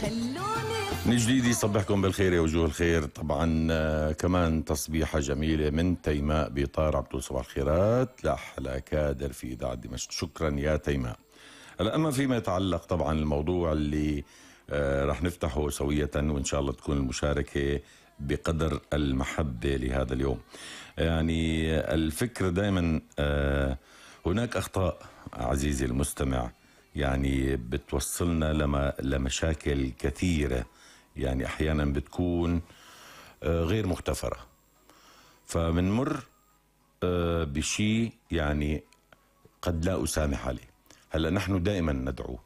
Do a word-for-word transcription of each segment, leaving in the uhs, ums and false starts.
خلوني من جديد يصبحكم بالخير يا وجوه الخير. طبعا آه كمان تصبيحة جميلة من تيماء بيطار. عبدو صباح الخيرات لأحلى كادر في إذاعة دمشق. شكرا يا تيماء. هلا أما فيما يتعلق طبعا الموضوع اللي آه رح نفتحه سوية وإن شاء الله تكون المشاركة بقدر المحبة لهذا اليوم. يعني الفكرة دائما آه هناك أخطاء عزيزي المستمع يعني بتوصلنا لما لمشاكل كثيرة، يعني أحيانا بتكون غير مغتفرة، فمنمر بشيء يعني قد لا أسامح عليه. هلأ نحن دائما ندعو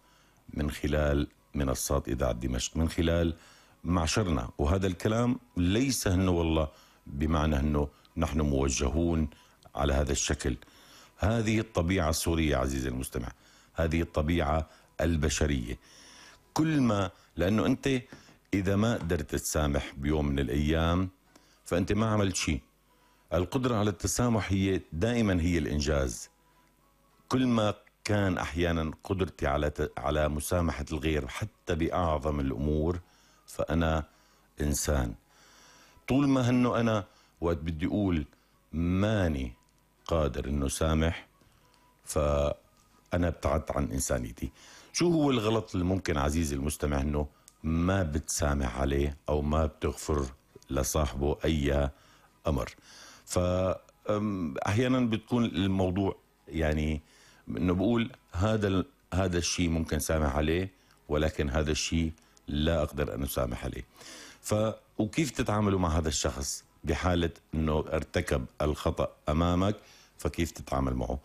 من خلال منصات إذاعة دمشق، من خلال معشرنا، وهذا الكلام ليس أنه والله بمعنى أنه نحن موجهون على هذا الشكل. هذه الطبيعة السورية عزيزي المستمع، هذه الطبيعة البشرية. كل ما لأنه أنت إذا ما قدرت تسامح بيوم من الأيام فأنت ما عملت شيء. القدرة على التسامح هي دائما هي الإنجاز. كل ما كان أحيانا قدرتي على على مسامحة الغير حتى بأعظم الأمور فأنا إنسان. طول ما هنه أنا وقت بدي أقول ماني قادر إنه سامح فأنا ابتعدت عن إنسانيتي. شو هو الغلط اللي ممكن عزيزي المستمع إنه ما بتسامح عليه أو ما بتغفر لصاحبه أي أمر؟ فأحيانا بتكون الموضوع يعني إنه بقول هذا هذا الشيء ممكن سامح عليه ولكن هذا الشيء لا أقدر أن أسامح عليه. ف وكيف تتعاملوا مع هذا الشخص بحالة إنه ارتكب الخطأ أمامك؟ فكيف تتعامل معه؟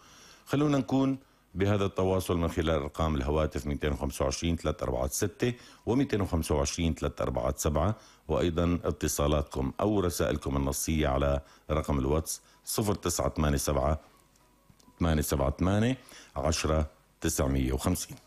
خلونا نكون بهذا التواصل من خلال أرقام الهواتف مئتين وخمسة وعشرين ثلاثمئة وأربعة وستين و مئتين وخمسة وعشرين ثلاثمئة وأربعة وسبعين، وأيضا اتصالاتكم أو رسائلكم النصية على رقم الواتس صفر تسعة ثمانية سبعة ثمانية سبعة ثمانية عشرة تسعمئة وخمسين.